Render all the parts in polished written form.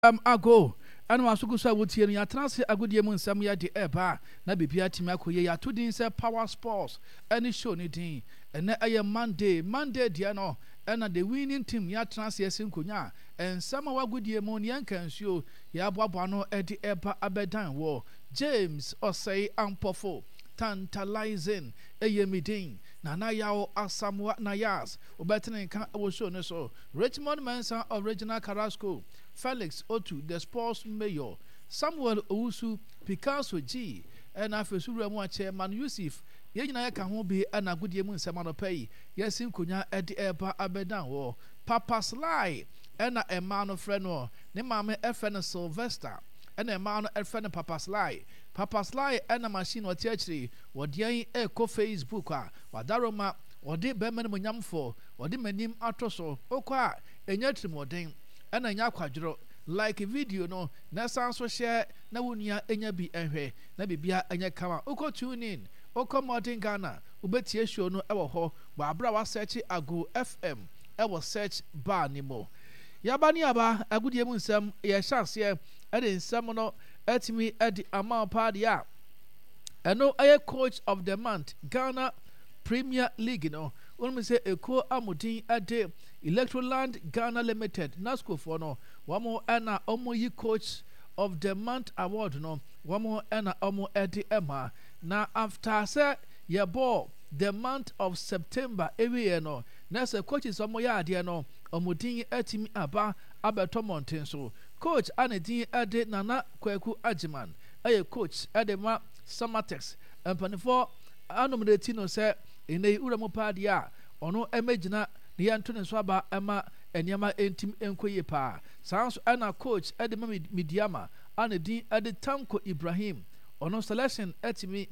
Ago, ɛna w'aso gu so a wotie no, yɛatena ase agodie mu nsɛm yɛde ɛreba na biribiara atumi akɔ yie. Yɛato din sɛ Power Sports ɛne show no din. Ɛnɛ ɛyɛ Monday, Monday deɛ no ɛna the winning team yɛatena ase asi nkonnwa a nsɛm a ɛwɔ agodie mu ne yɛnka nsuo yɛaboaboa ano de ɛreba abɛdan wɔ James Osei Ampofo Tantalizing ɛyɛ me din. Nana Yaw Asamoah Nayas wobɛtene nka wɔ show no so. Richmond Mensah of Regional Carrasco, Felix Otu, The Sports Mayor, Samuel Owusu, Picasso G, ɛna afei so wura mu a Chairman Yusif, yɛn nyinaa yɛka ho bi ɛna agodie mu nsɛm anɔpa yi yɛasi nkonwa ɛde ɛreba abɛdan wɔ. Papa Sly ɛna mmaa no frɛ noɔ, ne maame ɛfrɛ no Sylvester ɛna mmaa no ɛfrɛ no Papa Sly. Papa Sly ɛna machine ɔte akyire wɔdeɛn ɛrekɔ Facebook a wadaroma ɔde bɛrima animuonyamfoɔ Wɔde m'anim ato so. Wokɔ a, ɛnyɛ atirimuɔden, ɛna ɛnyɛ akwadworɔ. Like video no na san nso share na wo nua nya bi nhwɛ na biribiara nyɛ kama. Wokɔ TuneIn, wokɔ Modern Ghana, wobɛtie show no wɔ hɔ wɔ aberɛ a woasɛɛkye Ago FM wɔ search bar no mu. Yaba ne aba, agodie mu nsɛm, yɛhyɛ aseɛ de nsɛm no atumi de ama wo paa deɛ a, ɛno yɛ Coach of the Month, Ghana Premier League no. Wonim sɛ ekuo a mo din de Electroland Ghana Limited, NASCO foɔ no, wɔn na wɔn yi Coach of the Month award no, wɔn na wɔn de ma. Na after sɛ yɛbɔɔ the month of September awieɛ no, na sɛ coaches a wɔyɛ adeɛ no, wɔn din atumi aba abɛtɔ mmɔnten so. Coach a ne din de Nana Kwaku Agyeman yɛ coach de ma Samatex. Mpanimfoɔ anom no ti no sɛ Nnɛ yi wura mu paa deɛ a, ɔno mmɛgyina na yɛnto ne nso aba mma nneɛma ntim nkɔ yie paa. Saa nso na coach de ma Medeama a ne din de Tanko Ibrahim, ɔno selection atumi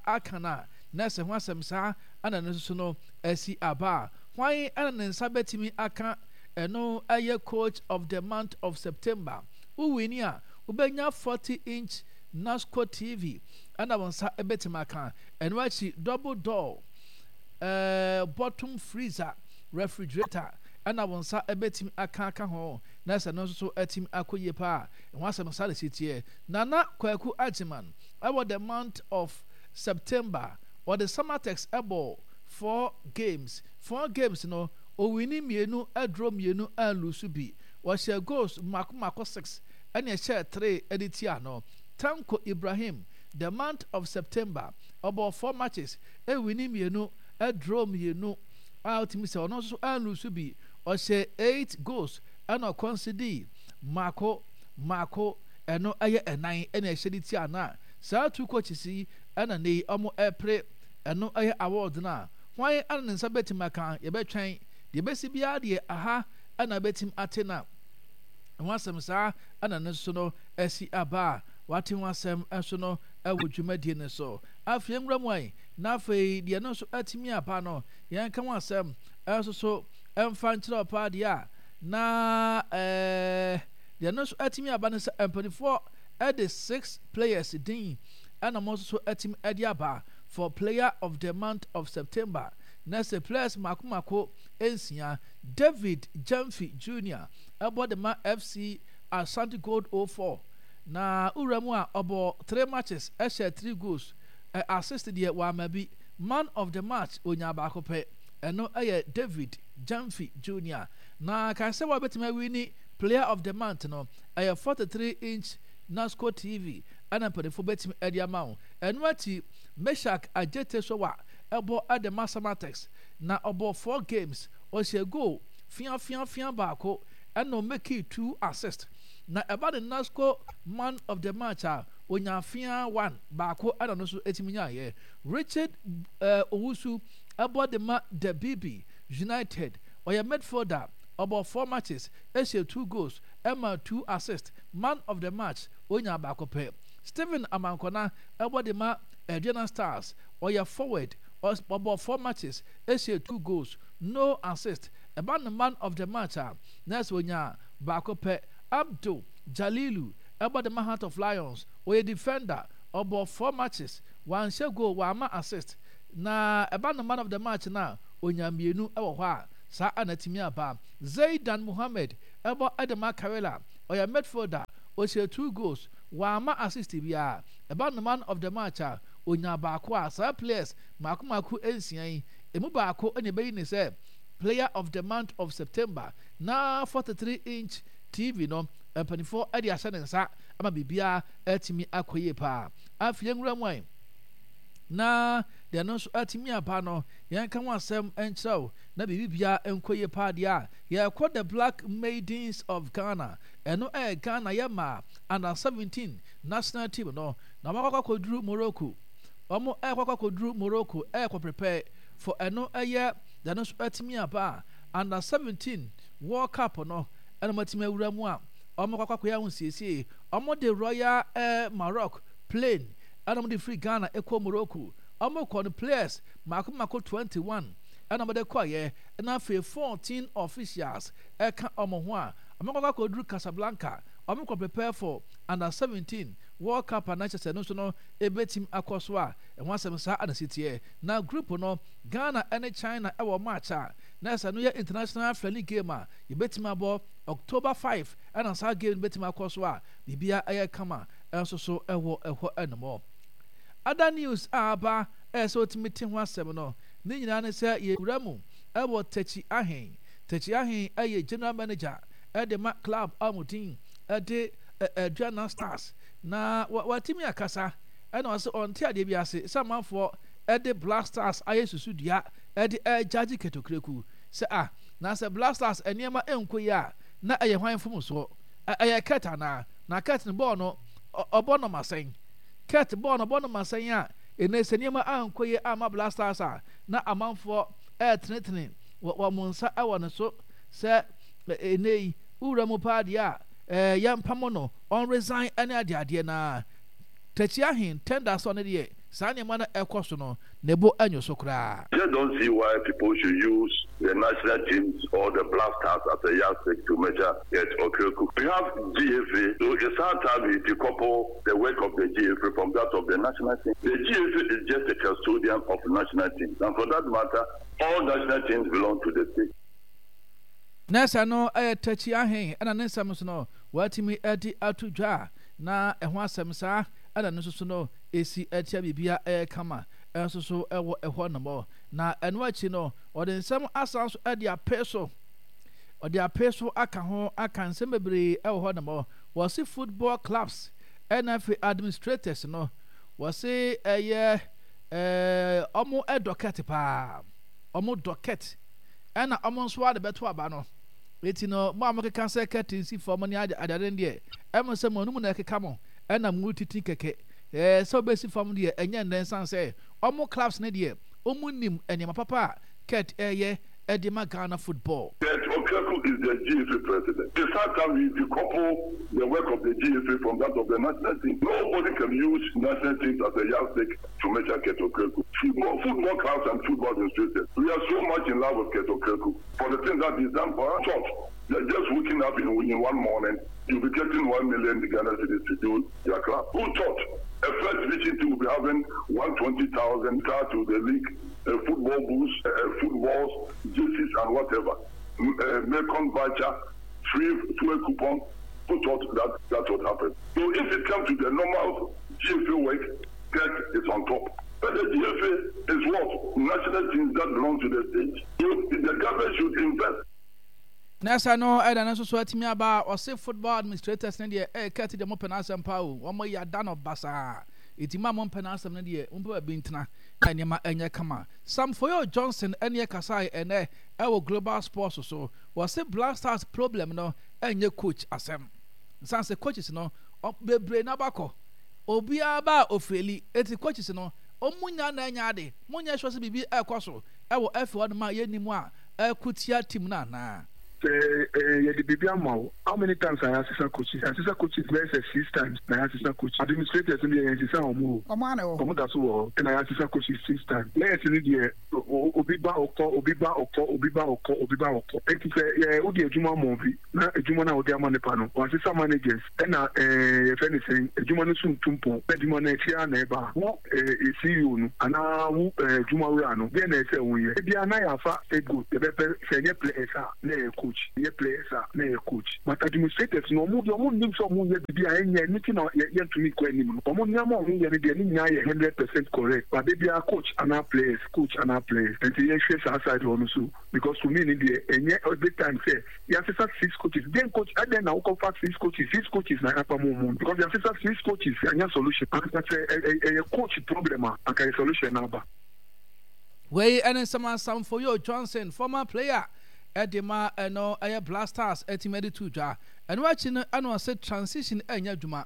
aka no a, na ɛsɛ ho asɛm saa na ɛno nso no asi aba a, hwan na ne nsa bɛtumi aka ɛno yɛ coach of the month of September. Wo wini a, wobɛnya 40 inch Nasco TV na wo nsa bɛtumi aka. Ɛno akyi, double door eh, bottom freezer, refrigerator ɛna wo nsa bɛtumi aka aka ho na sɛ no nso so atumi akɔ yie paa. Ɛho asɛm saa na ɛsi teɛ. Nana Kwaku Agyeman ɛwɔ the month of September ɔde Samatex ɛbɔɔ four games. Four games no, owini mmienu, ɛdraw mmienu, anlusu bi. Ɔhyɛɛ goals mmaako mmaako six ɛna ɛhyɛɛ three ɛde tiaa no. Tanko Ibrahim The month of September, ɔbɔɔ four matches, winni mmienu, draw mmienu a wotumi sɛ ɔno nso anlusu bi. Ɔhyɛɛ eight goals ɛna ɔkɔnsidii mmaako mmaako, ɛno ɛyɛ ɛnan ɛna ɛhyɛ de tia no a saa two coaches yi ɛna nnɛ yi wɔn ɛrepere ɛno ɛyɛ award no a hwan ɛna ne nsa bɛtumi aka yɛbɛtwɛn deɛ ɛbɛsi biara deɛ aha ɛna bɛtumi ate na ho asɛm saa ɛna ne nso no asi aba a Wate ho asɛm nso no wɔ dwumadie no so. Afei nwura mu ayi, na afei deɛ ɛno nso atumi aba no, yɛnka ho asɛm nso so mfa nkyerɛ wo paa deɛ a, na ɛɛ deɛ ɛno nso atumi aba no sɛ mpanimfoɔ de six players din ɛna wɔn nso so atumi de aba for player of the month of September. Na sɛ players mako mako nsia, David Gyamfi Junior ɛbɔ de ma FC Ashanti Gold 04. Na wura mu a, ɔbɔɔ three matches, hyɛɛ three goals, assist deɛ wamma bi. Man of the match ɔnyaa baako pɛ, ɛno yɛ David Gyamfi Junior. Na kae sɛ wabɛtumi awini player of the month no, ɛyɛ 43 inch Nasco TV ɛna mpanimfoɔ bɛtumi de ama wo. Ɛno akyi, Meshack Adjetey Sowah bɔ de ma Samatex, na ɔbɔɔ four games, ɔhyɛɛ goal feafeafea baako ɛna ɔmekii two assist. Na ɛba ne Nasco man of the match a, ɔnyaa feaa one, baako ɛna ɔno nso ɛtumi nyaeɛ. Richard eh, Owusu ɛbɔ de ma Debibi United, ɔyɛ midfielder, ɔbɔɔ four matches, ɛhyɛɛ two goals, ɛmaa two assists, man of the match ɔnyaa baako pɛ. Stephen Amankona ɛbɔ de ma Aduana Stars, ɔyɛ forward, ɔbɔɔ four matches, ɛhyɛɛ two goals, no assist, ɛba no man of the match a, na ɛsɛ ɔnyaa baako pɛ. Abdul Jalilu bɔ de ma Heart of Lions, ɔyɛ defender, ɔbɔɔ four matches, wanhyɛ goal, wamma assist. Na ɛba no man of the match no a, ɔnyaa mmienu wɔ hɔ a saa na atumi aba. Zeidan Mohammed bɔ de ma Karela. Ɔyɛ midfielder, ɔhyɛɛ 2 goals, wamma assist biara. Ɛba no man of the match a, ɔnyaa baako a saa players mmaako mmaako nsia yi, ɛmu baako na ɛbɛyi no sɛ player of the month of September. Na 43 inch TV no, mpanimfoɔ de ahyɛ ne nsa ama biribiara atumi akɔ yie paa. Afei yɛnwura mu ayi na deɛ no nso atumi aba no, yɛnka ho asɛm nkyerɛ wo na biribiara nkɔ yie paa deɛ a, yɛrekɔ The Black Maidens of Ghana. Ɛno ɛyɛ Ghana yɛ mmaa under 17 national team no, na wɔakɔ akɔduru Morocco. Wɔn ɛrekɔ akɔduru Morocco ɛrekɔ prepare for ɛno ɛyɛ deɛ no nso atumi aba a under 17 World Cup no ɛna wɔatumi awura mu a wɔkɔ akɔyɛ ahosiesie. Wɔde Royal Air Maroc plane ɛna wɔde firi Ghana ɛkɔ Morocco. Wɔkɔ no players mako mako 21 ɛna wɔde kɔeɛ, ɛna afei 14 officials ɛka wɔn ho a wɔkɔ akɔduru Casablanca. Wɔkɔ prepare for under 17 World Cup a na kyerɛ sɛ ɛno nso no ɛbɛtumi akɔ so a ɛho asɛm saa na ɛsi teɛ. Na group no Ghana ɛne China ɛwɔ match a na ɛsɛ no yɛ international friendly game a yɛbɛtumi abɔ October 5 ɛna saa game no bɛtumi akɔ so a biribiara ɛyɛ kama nso so ɛwɔ ɛhɔ ɛnom. Other news a aba ɛyɛ sɛ wotumi te ho asɛm no ne nyinaa ne sɛ yɛwura mu ɛwɔ Takyi Ahen. Takyi Ahen ɛyɛ general manager ɛde ma club a wɔn din ɛde Aduana Stars na watumi akasa ɛna ɔsɛ ɔnte adeɛ bi ase sɛ amanfoɔ ɛde Black Stars ayɛ susudua ɛde ɛgyagye Ketokureku sɛ ah na sɛ Black Stars nneɛma ɛnkɔ yie a na ɛyɛ hwan mfomsoɔ? Ɛyɛ Kurt anaa? Na Kurt no bɔɔl no ɔbɔ no ma sɛn? Kurt bɔɔl no ɔbɔ no ma sɛn a ɛnɛ sɛ nneɛma ankɔ yie amma Black Stars a na amanfoɔ ɛretenetene wɔn nsa wɔ ne so sɛ ɛnɛ yi wowura mu paa deɛ a yɛmpamo no ɔnresign ne adeadeɛ na Takyi Ahen tender sɛ ɔno deɛ saa nneɛma no ɛkɔ so no ne bo nyo so koraa. Just don't see why people should use the national teams or the Black Stars as a yardstick to measure Kurt Okraku. We have GFA, so it's high time we decouple the work of the GFA from that of the national team. The GFA is just a custodian of national teams, and for that matter, all national teams belong to the state. Nurse no yɛ Takyi Ahen ɛna ne nsɛm nso no watumi de ato dwa na ɛho asɛm saa ɛna no nso so no ɛsi atia biribia ɛyɛ kama nso so ɛwɔ ɛhɔ nom. Na ɛno akyi no ɔde nsɛm asan so ɛde apee so ɔde apee so aka ho aka nsɛm bebree ɛwɔ hɔ nom. Wɔse football clubs ɛna afei administrators no wɔse ɛyɛ ɛɛ ɔmo ɛdɔ kɛte paa ɔmo dɔ kɛte ɛna ɔmo nso ara de bɛto aba no. Eti no, mo a mokeka sɛ curtain si fam ne ade adeade no deɛ, ɛmo sɛ mo anum na ɛkeka mo, ɛna mo titi kɛkɛ. Ɛɛ sɛ ɔbɛsi fam deɛ, ɛnyɛ nnɛ nsan sɛ ɔmo clubs no deɛ, ɔmo nim nneɛma papa a Kurt ɛɛyɛ ɛde ma Ghana football. Kurt Okraku is the GFA president. It's high time we decouple the work of the GFA from that of the national team. Nobody can use national teams as a yardstick to measure Kurt Okraku. Football, football clubs and football administrators, we are so much in love with Kurt Okraku for the things that he's done for us. Thought that just waking up in, in one morning, you'll be getting 1 million Ghana cedis to do your club. Who thought a first division team will be having 120,000 to the league, uh, football boots, uh, footballs, jerseys, and whatever. Uh, Mekong voucher, free fuel coupon. Who thought that that would happen? So if it comes to the normal GFA work, Kurt is on top. But the GFA is what? National teams that belong to the state. So the government should invest. Na ɛsɛ no ɛda no nso so atumi aba a ɔse football administrators no deɛ ɛyɛ Kurt deɛ mopɛ n'asɛm paa o, wɔn yɛ ada no basaa, eti mo a mompɛ n'asɛm no deɛ mompɛ baabi ntena na nneɛma ɛnyɛ kama. Sam Foyo Johnson ɛne ɛkasae ɛnɛ ɛwɔ Global Sports so, wɔse Black Stars problem no ɛnyɛ coach asɛm, nsan sɛ coaches no bebree no abakɔ, obiara ba a ofeeli, eti coaches no ɔmo nya na ɛnyɛ ade, monyɛ sure sɛ biribi ɛkɔ so ɛwɔ FA hɔ nom a yɛnnim a ɛko tia team no anaa? Sɛ yɛde biribi ama wo, how many times na yɛasesa coaches? Yɛasesa coaches bɛyɛ sɛ six times na yɛasesa coaches. Administrators no deɛ yɛnsesa wɔn o. Wɔn ara na ɛwɔ hɔ. Wɔn da so wɔ hɔ. Ɛna yɛasesa coaches six times. Players no deɛ obi ba ɔkɔ, obi ba ɔkɔ, obi ba ɔkɔ, obi ba ɔkɔ. Enti sɛ yɛ wode adwuma ma obi na adwuma no a wode ama nipa no, wasesa managers ɛna ɛɛ yɛfrɛ no sɛn, adwuma no so ntu mpɔn na adwuma no akyi ara na ɛba a, wo ɛɛ CEO no anaa wo ɛɛ adwuma wura no, deɛn na ɛsɛ sɛ woyɛ? Ebia na yɛafa scapegoat, yɛbɛpɛ sɛ ɛnyɛ players a na ɛyɛ coach. coach, ɛyɛ players a na ɛyɛ coach. But administrators no ɔmo deɛ ɔmo nnim sɛ ɔmo yɛ biribi a ɛnyɛ ɛno nti na yɛ yɛntumi nkɔ anim no. Ɔmo nneɛma a ɔmo yɛ no deɛ ne nyinaa yɛ 100% correct but da biara coach anaa players, coach anaa players. Nti yɛnhwɛ saa side hɔ no so because to me no deɛ ɛnyɛ every time sɛ yɛasesa six coaches dɛn coach adɛn na wokɔfa six coaches, six coaches na yɛapam ɔmo because yɛasesa six coaches yɛanya solution. Anka sɛ ɛyɛ coach problem a anka yɛ solution no aba. Wei ne nsɛm a Sam Foyo Johnson, former player de ma ɛno ɛyɛ Black Stars atumi de to dwa. Ɛno akyi no ɛna ɔse transition ɛnyɛ adwuma.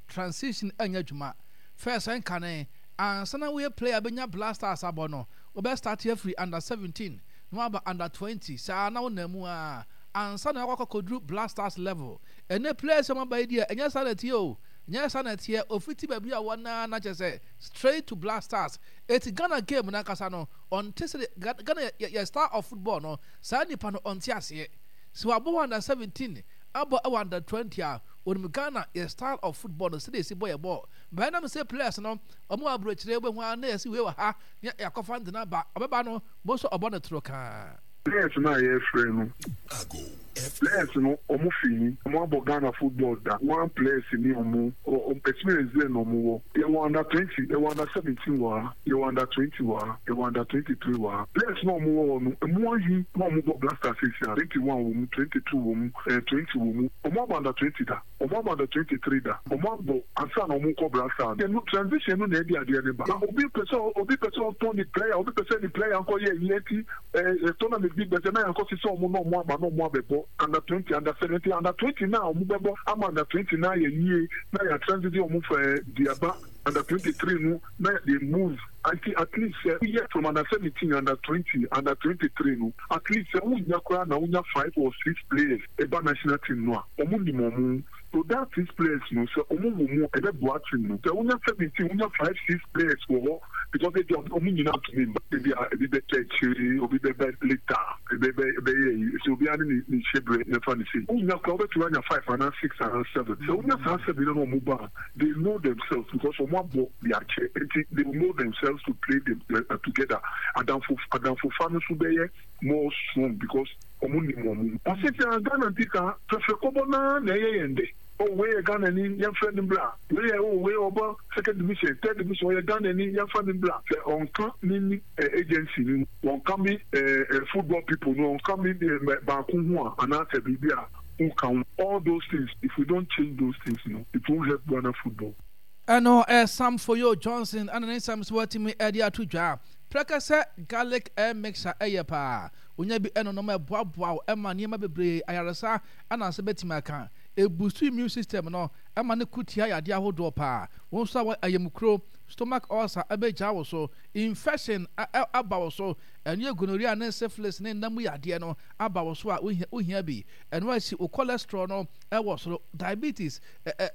Transition ɛnyɛ adwuma. First ɛnkane ansa na woyɛ player bɛnya Black Stars abɔ no, wobɛ start afiri under 17 na waba under 20 saa na wonam mu a ansa na wakɔ akɔduru Black Stars level. Ɛnɛ players a wɔaba yi deɛ ɛnyɛ saa na ɛteɛ o. Ɛnyɛ saa na ɛteɛ. Ofiti baabi a wɔn na na kyerɛ sɛ straight to Black Stars. Eti Ghana game no ankasa no ɔnte sɛdeɛ Ghana yɛ yɛ star of football no saa nipa no ɔnte aseɛ. Sɛ wabɔ wɔ under 17 abɔ wɔ under 20 a onim Ghana yɛ style of football no sɛdeɛ yɛsi bɔ yɛ bɔɔl. But ɛnam sɛ players no wɔn wɔ aburokyire wobɛhu ara na yɛsi wei wɔ ha na yɛakɔfa no de no aba ɔbɛba no bohu sɛ ɔbɔ no toro kaa. Players no a yɛfrɛ no players no ɔmo fi he? Ɔmo abɔ Ghana football da? One players ni ɔmo experience dɛn na ɔmo wɔ? Yɛwɔ under 20, yɛwɔ under 17 wɔ ha, yɛwɔ under 20 wɔ ha, yɛwɔ under 23 wɔ ha. Players no a ɔmo wɔ hɔ no emu ahe na ɔmo bɔ Black Stars seesei a? 21 wɔ mu, 22 wɔ mu, eh 20 wɔ mu. Ɔmo abɔ under 20 da? Ɔmo abɔ under 23 da? Ɔmo abɔ ansa na ɔmo kɔ Black Stars no? Ɛno transition no na ɛde adeɛ no ba. Na obi pɛ sɛ obi pɛ sɛ ɔtɔn ne player, obi pɛ sɛ ne player nkɔ yɛ ayi ɛnti Eh tournament bi bɛsɛ na yɛakɔ sesɛ ɔmo na ɔmo aba na ɔmo abɛbɔ under 20 under 17 under 20 na ɔmo bɛbɔ ama under 20 na ayɛ yie na yɛ transition ɔmo fɛ eh, de aba under 23 no na they move anti at least sɛ woyɛ from under 17 under 20 under 23 no at least sɛ wonya koraa na wonya five or six players ɛba national team no a ɔmo nim ɔmo. So that six players no sɛ ɔmo wɔ mu a ɛbɛboa team no. Sɛ wonya 17 wonya five six players wɔ hɔ because ebia ɔmo nyinaa ntumi mba ebia ebi bɛtɔ akyire obi bɛba later ebe bɛ ɛbɛyɛ ayi sɛ obiara ne ne ne hyɛbrɛ yɛmfa no sei. Wonya koraa wobɛtumi anya five anaa six anaa seven. Sɛ wonya saa seven no na ɔmo ba a they know themselves because ɔmo abɔ de akyɛ nti they will know themselves to play them together. Adamfo adamfofa no nso bɛyɛ more strong because Ɔmo nim wɔn ho. Ɔse sɛ Ghana nti saa fɛfɛ kɔbɔ no ara na ɛyɛ yɛn dɛ. Oh wei yɛ Ghanani yɛnfrɛ no mbra. Wei yɛ oh wei ɔbɔ second division, third division ɔyɛ Ghanani yɛnfa no mbra. Sɛ ɔnka me ne agency no ho, ɔnka me football people no, ɔnka me baako ho a anaasɛ biribi a wonka ho. All those things if we don't change those things no it won't help Ghana football. Ɛno ɛyɛ Sam Foyo Johnson ɛna ne nsɛm so watumi ɛde ato dwa. Prɛkɛsɛ garlic air mixture ɛyɛ paa. Wonya bi ɛnonom a ɛboaboa wo ɛma nneɛma bebree, ayaresa ɛna nsa bɛtumi aka. Ɛbustu immune system no ɛma no ko tia yadeɛ ahodoɔ paa. Wo nso a wɔ ayamkuro, stomach ulcer ɛbɛgyaa wo so, infection aba wo so, ɛno yɛ gonorrhea ne syphilis ne nna mu yadeɛ no aba wo so a wohia bi. Ɛno akyi wo cholesterol no ɛwɔ soro, diabetes,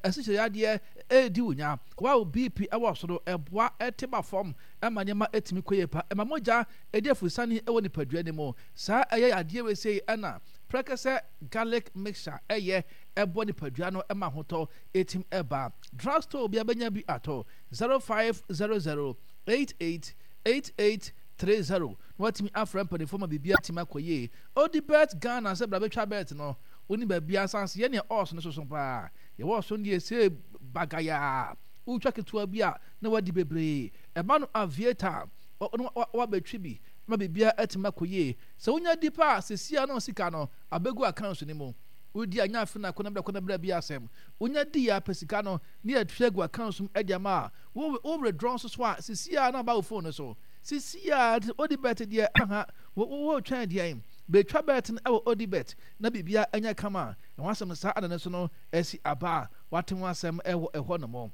asikyire yadeɛ ɛredi wo nya, wo a wo BP ɛwɔ soro, ɛboa ɛte ba fam ɛma nneɛma ɛtumi kɔ yie pa, ɛma mogya ɛdi afusane wɔ nipadua no mu. Saa ɛyɛ yadeɛ wei sei ɛna prɛkɛsɛ garlic mixture ɛyɛ ɛboa nipadua no ɛma ahotɔ ɛtim ɛba. Drug store bia bɛnya bi atɔ 0500 88 88 30 na watumi afrɛ mpanimfoɔ ma biribi atumi akɔ yie. Odi bet Ghana sɛ bra bɛtwa bet no woni baabi asanse yɛ nea ɔɔso no soso paa. Yɛwɔ ɔso no deɛ ɛsɛ bagayaa wotwa ketewa bi a na wadi bebree. Ɛba no aviator na wabɛtwe bi ma biribiara atumi akɔ yie. Sɛ wonya di paa a, seesei ara na sika no abɛgu accounts no mu. Wodi a, nyɛ afe na kɔ na bra kɔ na bra bi asɛm. Wonya di a, pɛ sika no na yɛatua agu accounts mu de ama a, wo wo withdraw nso so a, seesei ara na aba wo phone no so. Seesei ara, nti Odibet deɛ aha, wo wo wotwɛn deɛn? Bɛtwa bet no wɔ Odibet na biribiara nyɛ kama. Ɛho asɛm saa na no nso no asi aba a wate ho asɛm wɔ ɛhɔ nom.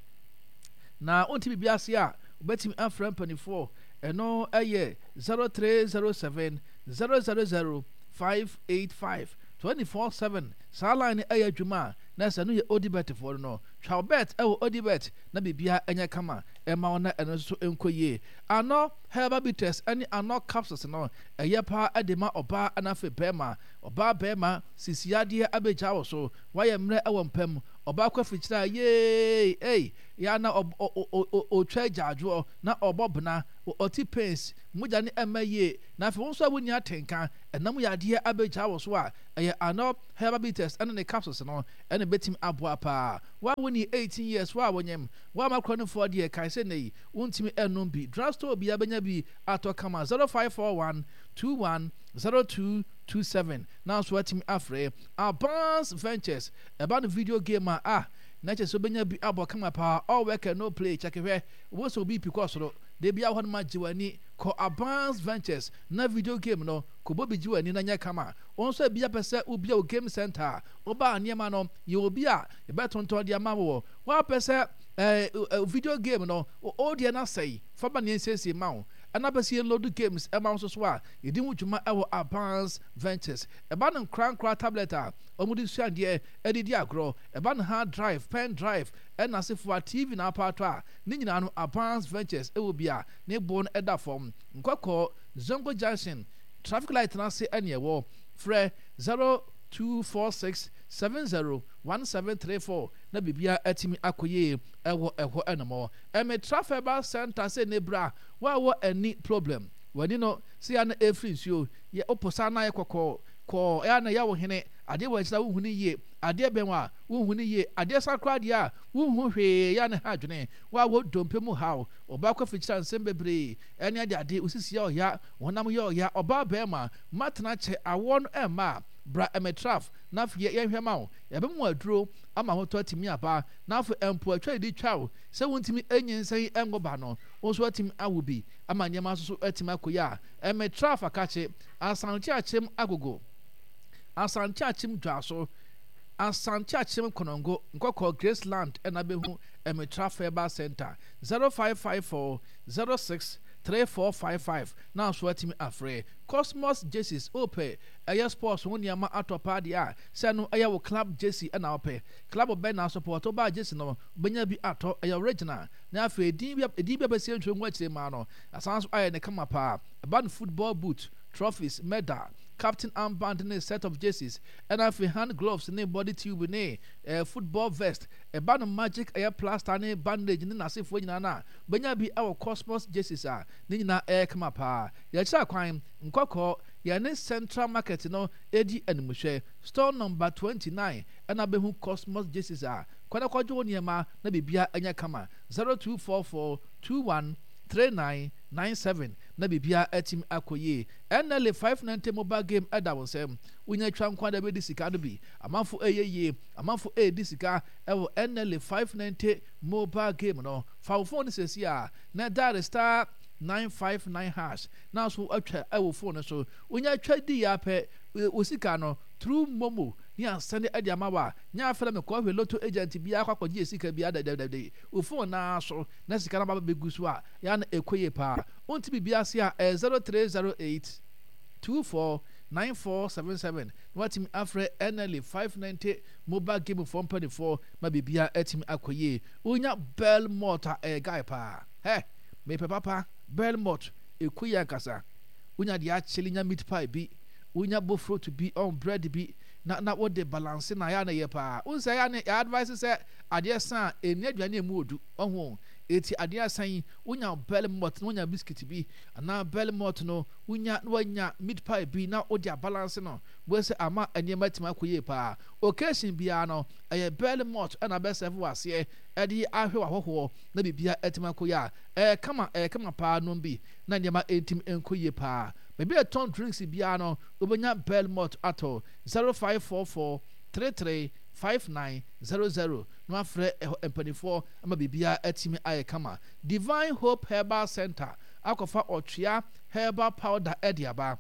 Na wonte biribi ase a, wobɛtumi afrɛ mpanimfoɔ. Ɛno yɛ 0307 000 585 24/7. Saa line no yɛ adwuma a, na sɛ ɛno yɛ Odibet foɔ no no. Twa wo bet wɔ Odibet na biribiara nyɛ kama mma wo na ɛno nso nkɔ yie. Anɔ Herbal Bitters ne Anɔ Capsules no, ɛyɛ paa de ma ɔbaa na afei barima. Ɔbaa barima, sisi yadeɛ abɛgya wo so, woayɛ mmerɛ wɔ mpa mu. Ɔbaa kɔ afikyire a, yeei, ei, yɛ a na ɔtwa agyaadwoɔ, na ɔbɔ bena, ɔte pains, mogya no ɛmma yie. Na afei wo nso a wonni atenka, ɛnam yadeɛ abɛgyaa wo so a, ɛyɛ Anɔ Herbal Bitters ɛne ne capsules no ɛna ɛbɛtumi aboa paa. Wo a wonni 18 years, wo a wonyem, wo a makora nufoɔ deɛ, kae sɛ nnɛ yi, wontumi ɛnnom bi. Drugstore biara bɛnya bi atɔ kama, 0541 21 0227 na nso watumi afrɛ. Advance Ventures, ɛba no video game a, ah, na kyerɛ sɛ wobɛnya bi abɔ kama paa, all work and no play, kyɛke hwɛ, wobɛhu sɛ obi pi kɔ soro, da biara hɔ nom agye w'ani, kɔ Advance Ventures na video game no, kɔbɔ bi gye w'ani na nyɛ kama. Wo nso ebia pɛ sɛ wobia wo game center a, woba a nneɛma no, yɛwɔ bi a yɛbɛtontɔn de ama wo. Woapɛ sɛ eh, video game no, wo deɛ no asɛe, fa ba na yɛnsiesie ma wo. Ɛna pɛ sɛ yɛn load games ma wo nso so a, yɛdi ho dwuma wɔ Advance Ventures. Ɛba no nkorankora tablet a wɔde sua adeɛ de di agorɔ, ɛba no hard drive, pen drive, ɛna asefoa, TV na apaatɔ a, ne nyinaa no Advance Ventures wɔ bi a ne boɔ no da fam. Nkɔkɔɔ, Zongo Junction, traffic light no ase ɛne ɛwɔ. Frɛ 0246 70 1734 na biribiara atumi akɔ yie ɛwɔ ɛhɔ ɛnom. Ɛmetra Herbal Center sɛ ne bra wo a wɔ ani problem, w'ani no sɛ ya na ɛfiri nsuo, yɛ woposa na ayɛ kɔkɔɔ kɔɔ ɛyɛ a na ɛyɛ wo hene, adeɛ wɔ akyire a wonhu no yie, adeɛ bɛn wo a wonhu no yie, adeɛ sa koraa deɛ a wonhu hwee ɛyɛ a na ɛha adwene, wo a wɔ dompe mu haw, ɔbaa kɔ afikyire a nsɛm bebree ɛne ade ade, wo sisi yɛ ɔya, wo honam yɛ ɔya, ɔbaa bɛɛma, matena kyɛ, awoɔ no ɛmma a, bra ɛmɛtraf na afei yɛnhwɛ ma wo, yɛbɛma wo aduro ama ahotɔ atumi aba, na afei mpo atwa didi twa wo sɛ wontumi nyinsɛn nwo ba no, wo nso atumi awo bi ama nneɛma nso so atumi akɔ yie a, ɛmɛtra afakakye, Asante Akyem Agogo, Asante Akyem Dwaso, Asante Akyem Konongo, Nkɔkɔɔ Graceland ɛna bɛhu Ɛmɛtra Herbal Center, 0554 06 3455 na nso atumi afrɛ. Cosmos Jerseys, wopɛ ɛyɛ sports ho nneɛma atɔ paa deɛ a, sɛ no ɛyɛ wo club jersey ɛna wopɛ, club bɛn na support, wobaa jersey no wobɛnya bi atɔ, ɛyɛ original, na afei edin bi edin bi a bɛsi ntwerɛ ngu akyire maa no, asan nso ayɛ ne kama paa, ɛba no football boot, trophies, medal, captain armband ne set of jerseys, ɛna afei hand gloves ne body tube ne eh, football vest, ɛba no magic ɛyɛ plaster ne bandage ne n'asefoɔ nyinaa no a, wobɛnya bi ɛwɔ Cosmos jerseys a ne nyinaa ɛyɛ kama paa. Yɛkyerɛ kwan, Nkɔkɔɔ, yɛne Central Market no di animhwɛ. Store number 29 ɛna bɛhu Cosmos Jerseys a, kɔ na kɔgye wo nneɛma na biribiara nyɛ kama. 0244 21 39 97 na biribiara atumi akɔ yie. NLA 590 mobile game ɛda wo nsam. Wonya twa nko ara bɛdi sika no bi. Amanfo ɛyɛ yie, amanfo ɛredi sika ɛwɔ NLA 590 mobile game no. Fa wo phone no seesei a na dial star 959 hash na nso atwa ɛwɔ phone no so. Wonya twa di yɛ apɛ wo sika no through momo ne asɛnde ɛde ama wa. Nya afɛ na mekɔ hwɛ lotto agent biara akɔ akɔgye sika biara dɛdɛdɛdɛ. Wo phone naa so na sika no aba bɛgu so a ya na ɛkɔ yie paa. Wonte biribi ase a ɛyɛ 0308 24 9477 na watumi afrɛ NLA 590 mobile game foɔ mpanimfoɔ ma biribiara atumi akɔ yie. Wonya Belmont a ɛyɛ guy paa. Hɛ! Mepɛ papa Belmont ɛkɔ yie ankasa. Wonya deɛ akyele nya meat pie bi, wonya bofrot bi, ɔn bread bi na na wode balance na ɛyɛ a na ɛyɛ paa. Wohu sɛ ɛyɛ a na yɛ advice sɛ adeɛ sa a ɛnni aduane a ɛmu ɔdu. Wahu o? Eti adeɛ asa yi wonya Belmont na wonya biscuit bi anaa Belmont no wonya na wanya meat pie bi na wode abalance no. Wei sɛ ama nneɛma atumi akɔ yie paa. Occasion biara no ɛyɛ Belmont na bɛsɛve wɔ aseɛ ɛde ahwɛ w'ahɔhoɔ na biribiara atumi akɔ yie a ɛyɛ kama ɛyɛ kama paa nom bi na nneɛma ɛntumi nkɔ yie paa. Baabi a yɛtɔn drinks biara no wobɛnya Belmont atɔ 0544 33 5900 na wafrɛ ɛhɔ mpanimfoɔ ama biribiara atumi ayɛ kama. Divine Hope Herbal Center akɔfa ɔtwea herbal powder de aba.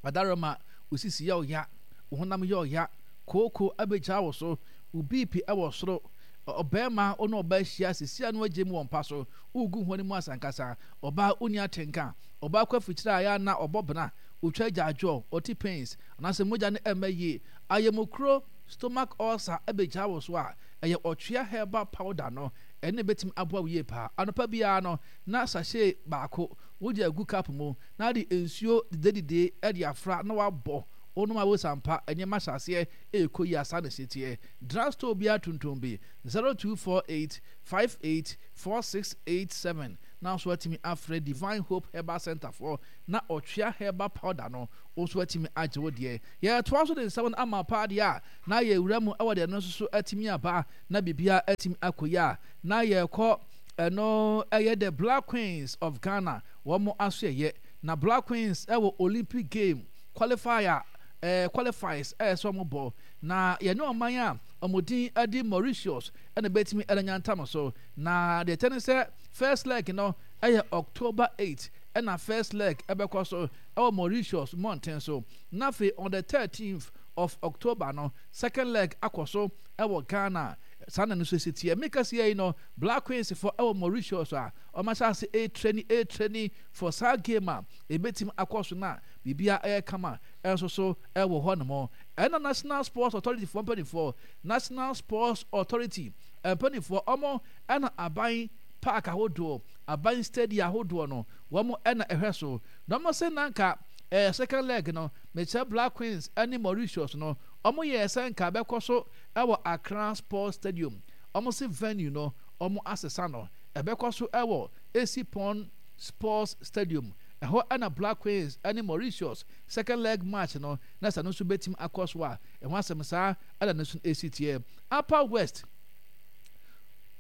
Adaroma, wo sisi yɛ wo ya, wo honam yɛ ɔya, kooko abɛgya wo so, wo BP wɔ soro, ɔbarima wo ne ɔbaa ahyia sisi a na wagye mu wɔ mpa so, wogu ho no mu asankasa, ɔbaa wonni atenka, ɔbaa kɔ afikyire a ɛyɛ a na ɔbɔ bena, ɔtwa agyaadwoɔ, ɔte pains, anaasɛ mogya no ɛmma yie, ayamukuro, stomach ulcer abɛgya wo so a, ɛyɛ ɔtwea herbal powder no, ɛno na ɛbɛtumi aboa wo yie paa. Anɔpa biara no, na sachet baako wode agu cup mu, na de nsuo didedide de afra na wabɔ. Wonom a wosa ampa nneɛma hyɛ aseɛ ɛrekɔ yie a saa na ɛsi teɛ. Drug store biara tontɔn bi 0248 58 4687 na nso atumi afrɛ Divine Hope Herbal Center foɔ na ɔtwea herbal powder no wo nso atumi agye wo deɛ. Yɛretoa so de nsɛm no ama paa deɛ a na yɛwura mu wɔ deɛ ɛno nso so atumi aba na biribiara atumi akɔ yie a na yɛrekɔ ɛno ɛyɛ the Black Queens of Ghana wɔn asoɛyɛ na Black Queens ɛwɔ Olympic game qualifier ɛɛ qualifies ɛyɛ sɛ wɔn bɔ na yɛne ɔman a wɔn din ɛde Mauritius ɛna bɛtumi ɛna nyantam so na deɛ ɛkyɛ ne sɛ first leg no ɛyɛ October 8 ɛna first leg ɛbɛkɔ so ɛwɔ Mauritius mmɔnten so na afei on the 13th of October no second leg akɔ so ɛwɔ Ghana saa na no nso esi teɛ meka si yi no Black Queens fo ɛwɔ Mauritius a wɔn ahyɛ ase ɛretraining ɛretraining for saa game a ebetumi akɔ so na biribiara ɛyɛ kama ɛnso so ɛwɔ hɔ nom ɛna National Sports Authority foɔ mpanimfoɔ National Sports Authority mpanimfoɔ wɔn ɛna aban park ahodoɔ aban stadium ahodoɔ no wɔn ɛna ɛhwɛ so na wɔn sɛ nanka ɛɛ second leg no mekyerɛ Black Queens ɛne Mauritius no wɔn yɛɛ sɛ nka bɛkɔ so ɛwɔ Accra Sports Stadium wɔn se venue no wɔn asesa no ɛbɛkɔ so ɛwɔ Essipon Sports Stadium ɛhɔ ɛna Black Queens ɛne Mauritius second leg match no na sɛ no nso bɛtumi akɔ so a ɛho asɛm saa ɛna no nso ɛsi teɛ Upper West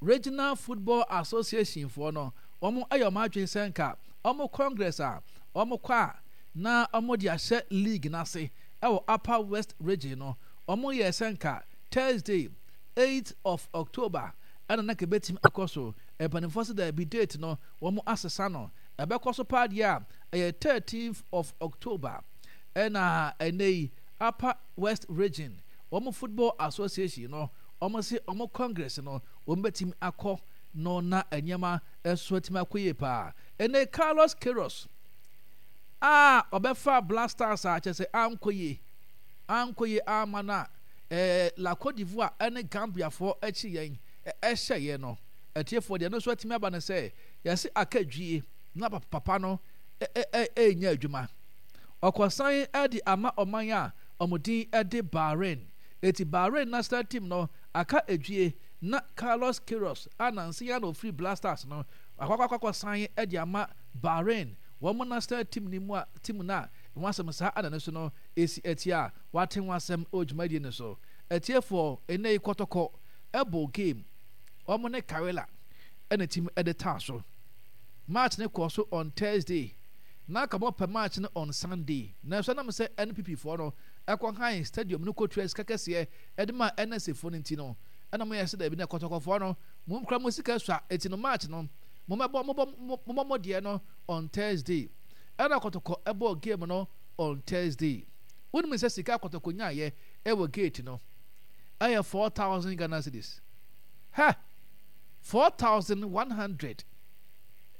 Regional Football Association foɔ no wɔn ayɛ wɔn adwene sɛ nka wɔn congress a wɔn kɔ a na wɔn de ahyɛ league n'ase ɛwɔ Upper West Region no wɔn yɛ sɛ nka Thursday 8th of October ɛna na kɛbɛtumi akɔ so mpanimfoɔ sɛ daabi date no wɔn asesa no ɛbɛkɔ so paa deɛ a ɛyɛ 13th of October ɛna ɛnɛ yi Upper West Region wɔn Football Association no wɔn se wɔn congress no wɔn bɛtumi akɔ no na nneɛma nso atumi akɔ yie paa ɛnɛ Carlos Queiroz a ɔbɛfa Black Stars a kyerɛ sɛ ankɔ yie ankɔ yie ama no a ɛɛ La Cote d'Ivoire ɛne Gambiafoɔ akyi yɛn ɛhyɛ yɛn no atiefoɔ deɛ no nso atumi aba no sɛ yɛse aka dwie na papa no ɛnyɛ adwuma ɔkɔsan ɛde ama ɔman a wɔn din ɛde Bahrain eti Bahrain national team no aka edwie na Carlos Queiroz a nansi ya na ofiri Black Stars no akɔakɔakɔsan ɛde ama Bahrain wɔn national team ni mu a team na wɔn asɛm saa ana ne so no esi ɛti a wate ho asɛm wɔ dwumadie no so atiefoɔ ɛnɛ yi kɔtɔkɔ ɛbɔ game wɔn ne Karela ɛna team ɛde taa so match ne kɔɔ so on Thursday na aka wɔpɛ match no on Sunday nanso ɛnam sɛ NPP foɔ no ɛkɔ han stadium no kɔtua sika kɛseɛ ɛde ma NSA foɔ no nti no ɛna mo yɛ sɛ daabi na kɔtɔkɔfoɔ no mo nkura mo sika sua eti no match no mo mɛbɔ mo bɔ mo mo deɛ no on Thursday ɛna kɔtɔkɔ ɛbɔ game no on Thursday wonim sɛ sika kɔtɔkɔ nyaayɛ ɛwɔ gate no ɛyɛ 4000 Ghana cedis hɛ 4100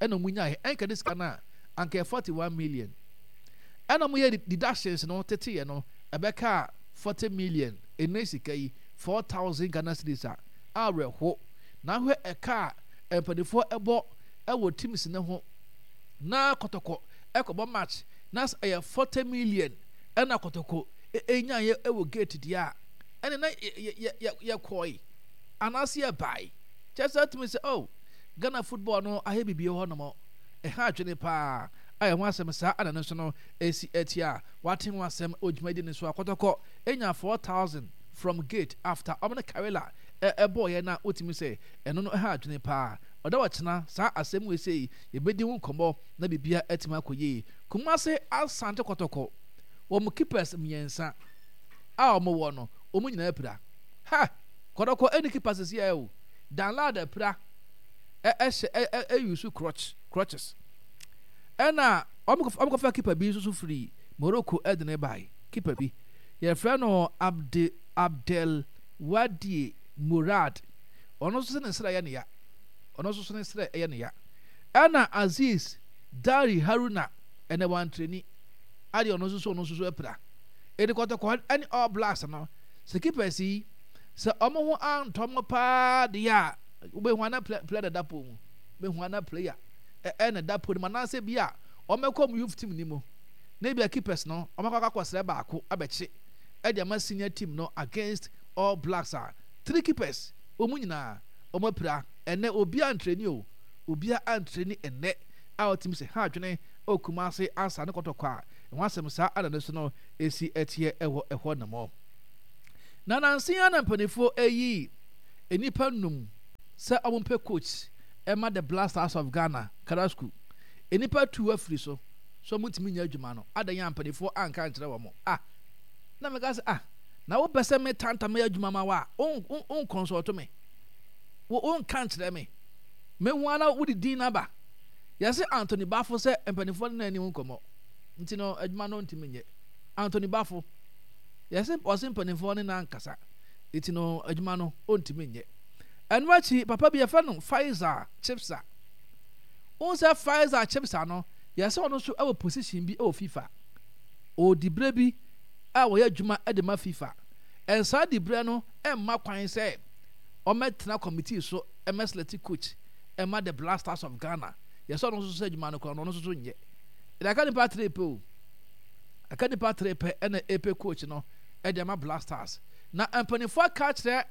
ɛna ɔmo nyaayɛ ɛnka de sika no a anka yɛ 41 million ɛna ɔmo yɛ deductions no teteyɛ no ɛbɛka 40 million ɛnɛ sika yi 4000 Ghana cedis a awerɛho na ahwɛ ɛka a mpanimfoɔ ɛbɔ ɛwɔ teams ne ho na kɔtɔkɔ ɛkɔbɔ match na sɛ ɛyɛ 40 million ɛna kɔtɔkɔ ɛnyaeɛ ɛwɔ gate deɛ a ɛne na yɛkɔe anaasɛ yɛbae kyɛ sɛ atumi sɛ oh Ghana football no ayɛ biribi hɔ nom ɛha adwene paa a ɛho asɛm saa ana no nso no ɛsi ɛti a wate ho asɛm wɔ dwumadi no so a kɔtɔkɔ ɛnya 4000 from gate after ɔmo ne Karela ɛbɔɔyɛ na wotumi sɛ ɛno no ɛha adwene paa ɔda ɔkyena saa asɛm wei sei yɛbɛdi ho nkɔmmɔ na biribia atumi akɔ yie Kumase Asante Kɔtɔkɔ wɔn keepers mmiɛnsa a wɔn wɔ no wɔn nyinaa apira ha Kɔtɔkɔ ɛni keeper sisi ɛ o Danlad apira ɛhyɛ ɛ ɛyusu crutch crutches ɛna wɔn kɔfa keeper bi nso so firi Morocco ɛde ne bae keeper bi yɛfrɛ no Abde Abdel Wadie Murad ɔno nso ne nsra yɛ ne ya ɔno nso so ne nsra yɛ ne ya ɛna Aziz Dari Haruna ɛnɛ wantreni adeɛ ɔno nso so ɔno nso so apira ɛde kɔtɔkɔ ɛne All Blacks no sɛ keepers yi sɛ ɔmo ho antɔ mo paa deɛ a wobɛhu ana player na da po mu bɛhu ana player ɛna da po no mu anaasɛ bi a ɔmɛkɔ ɔmo youth team ni mu. Na ebia keepers no wɔn akɔ akɔsrɛ baako abɛkye de ama senior team no against All Blacks a, three keepers wɔn nyinaa wɔn apira. Ɛnnɛ obiara antreni o, obiara antreni ɛnnɛ a ɔtumi sɛ ha adwene wɔ Kumasi ansa ne kɔtɔkɔ a ɛho asɛm saa ana no so no esi ɛteɛ ɛwɔ ɛhɔ nom. Na nansa yi ara na mpanimfoɔ ayi nnipa num sɛ wɔmpɛ coach ɛma the Black Stars of Ghana, Karasku. Nnipa tu afiri so sɛ wɔntumi nyɛ adwuma no. Adɛn a mpanimfoɔ anka ankyerɛ wɔn? Ah, na meka sɛ ah, na wopɛ sɛ me tanta mɛyɛ adwuma ma wo a, wo nkɔnsɔɔto me. Wo wonka nkyerɛ me. Mehu ara na wode din no aba. Yɛse Anthony Bafo sɛ mpanimfoɔ no na ani ho nkɔmmɔ. Nti no adwuma no ntumi nyɛ. Anthony Bafo. Yɛse ɔse mpanimfoɔ ne no ankasa. Nti no adwuma no ɔntumi nyɛ. Ɛno akyi papa bi yɛfrɛ no Faisal Chipsa. Wohu sɛ Faisal Chipsa no yɛse ɔno nso wɔ position bi wɔ FIFA. Ɔwɔ diberɛ bi a wɔyɛ adwuma de ma FIFA. And saa diberɛ no mma kwan sɛ ɔmmɛtena committee so mmɛselɛte coach mma the Black Stars of Ghana. Yɛsɛ ɔno nso sɛ adwuma no koraa no ɔno nso so nyɛ. Ɛde aka nipa tere pɛ o. Aka nipa tere pɛ ɛna ɛpɛ coach no ɛde ama Black Stars. Na mpanimfoɔ aka akyerɛ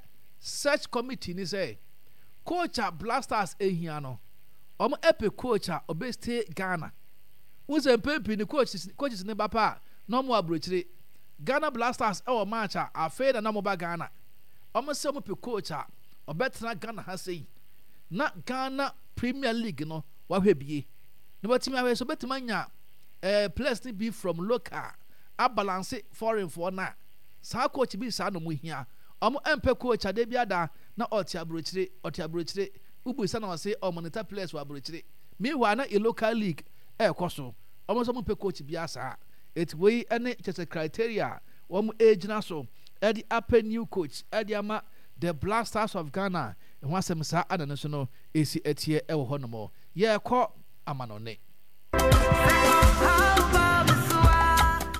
search committee ni sɛ coach a Black Stars ehia no, wɔn ɛpɛ coach a ɔbɛ stay Ghana. Wohu sɛ mpɛn pii no coaches coaches ne ba pa a na wɔn wɔ aburokyire. Ghana Black Stars ɛwɔ match a afei na na wɔn ba Ghana. Wɔn sɛ wɔn pɛ coach a ɔbɛtena Ghana ha sei na Ghana Premier League no wahwɛ bie na watumi ahwɛ sɛ ɔbɛtumi anya eh, players no bi from local abalanse foreign foɔ no a saa coach bi saa na wɔn hia. Wɔn ɛmpɛ coach a da bi ada na ɔte aburokyire ɔte aburokyire wobu sa na ɔse ɔmonitor players wɔ aburokyire meanwhile na yɛ local league ɛrekɔ so. Wɔn nso wɔmpɛ coach biara saa. Eti wei ne kyerɛ sɛ criteria a wɔn ɛregyina so ɛde apɛ new coach ɛde ama the Black Stars of Ghana ɛho asɛm saa ana no nso no ɛsi ɛteɛ ɛwɔ hɔ nom. Yɛrekɔ amanɔne.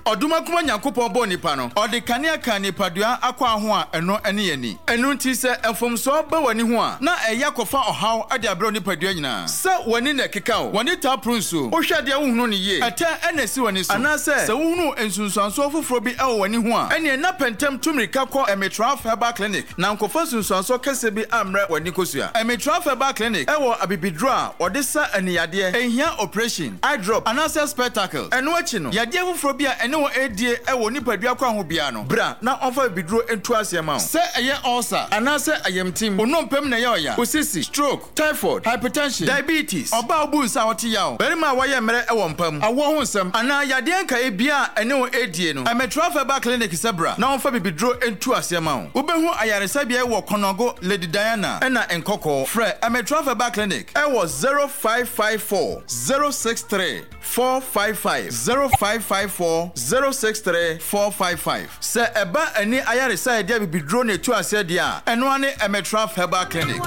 Ɔdomankoma Nyankopɔn bɔɔ nipa no, ɔde kanea kaa nipadua akwaa ho a ɛno ne ani. Ɛno nti sɛ mfomsoɔ ba w'ani ho a, na ɛyɛ akɔfa ɔhaw de abrɛ wo nipadua nyinaa. Sɛ w'ani na ɛkeka wo, w'ani taa poro nsuo, wohwɛ adeɛ a wonhunu no yie, ɛtɛ na ɛsi w'ani so, anaasɛ sɛ wohunu nsunsuansoɔ foforɔ bi wɔ w'ani ho a, ɛnneɛ na pɛ ntɛm tu mmirika kɔ Emitraf Herbal Clinic na nkɔfa nsunsuansoɔ kɛseɛ bi ammrɛ w'ani kosua. Emitraf Herbal Clinic wɔ abibiduro a wɔde sa ani yadeɛ, ɛnhia oprehyɛn, eye drop, anaasɛ spectacles. Ɛno akyi no, yadeɛ foforɔ bi a ɛne wo redie wɔ wo nipadua kwan ho biara no, bra na ɔmfa abibiduro ntu aseɛ ma wo. Sɛ ɛyɛ ulcer anaasɛ ayamtim, wo nnompe mu na ɛyɛ ɔya, wo sisi, stroke, typhoid, hypertension, diabetes, ɔbaa a wobu nsa a ɔte yaw, barima a wayɛ mmerɛ wɔ mpa mu, awoɔ ho nsɛm, anaa yadeɛ nkaeɛ biara a ɛne wo redie no, Ɛmɛtra Herbal Clinic sɛ bra na wɔmfa bibiduro ntu aseɛ ma wo. Wobɛhu ayaresabea yi wɔ Kɔnɔgo, Lady Diana, ɛna Nkɔkɔɔ. Frɛ Ɛmɛtra Herbal Clinic wɔ 0554 063 455, 0554 063 455. Sɛ ɛba ani ayaresa a yɛde abibiduro na ɛtu aseɛ deɛ a, ɛno ara ne Emetraf Herbal Clinic.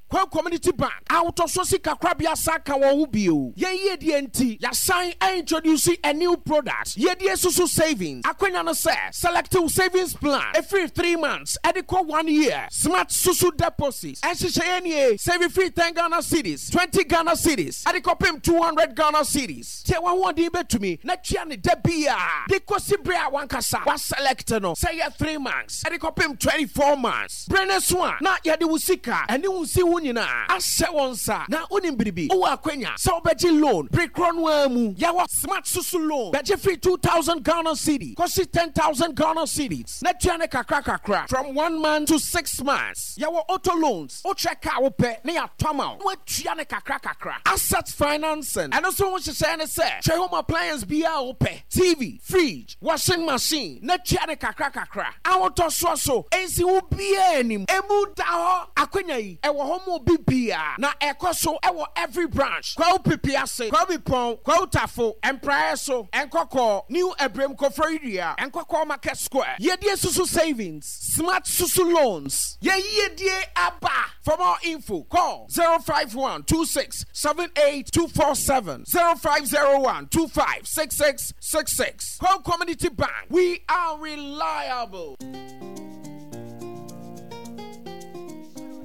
Kwawu Community Bank ahotɔsoɔ sikakorabea san ka wɔn ho bio. Yɛn yiedie nti, yɛasan a introduce a new product, Yiedie Susu Savings. Akwanya no sɛ, select wo savings plan ɛfiri 3 months ɛde kɔ 1 year. Smart Susu Deposit nhyehyɛeɛ nie, Save firi 10 Ghana cedis, 20 Ghana cedis ɛde kɔpem 200 Ghana cedis. Deɛ w'ahoɔden bɛtumi na tua no da biara de kɔsi berɛ a w'ankasa w'aselect no, sɛ ɛyɛ 3 months ɛde kɔpem 24 months. Bere no so a, na yɛde wo sika ne wo nsiho nyinaa ahyɛ wo nsa. Na wonim biribi? Wowɔ akwanya sɛ wobɛgye loan bere korɔ no ara mu. Yɛwɔ Smart Susu Loan, bɛgye firi 2,000 Ghana cedi kɔsi 10,000 Ghana cedis na tua no kakra kakra from one month to six months. Yɛwɔ auto loans, wokyerɛ car a wopɛ na yɛatɔ ama wo na woatua no kakra kakra. Asset financing, ɛno nso ho nhyehyɛe ne sɛ, kyerɛ home appliance biara a wopɛ, TV, fridge, Washing machine na tua no kakra kakra. Ahotɔsoɔ so nsi wo biara anim. Emu da hɔ. Akwanya yi ɛwɔ hɔ ma obi biara na ɛkɔ so wɔ every branch. Kwawu Pipiase, Kwawu Bipɔn, Kwawu Tafo, Mpraeɛ so, Nkɔkɔɔ, New Abirem Koforidua, Nkɔkɔɔ Market Square. Yiedie Susu Savings, Smart Susu Loans. Yɛn yiedie aba! For more info, call 051 26 78 247, 0501 25 66 66. Kwawu Community Bank, we are reliable.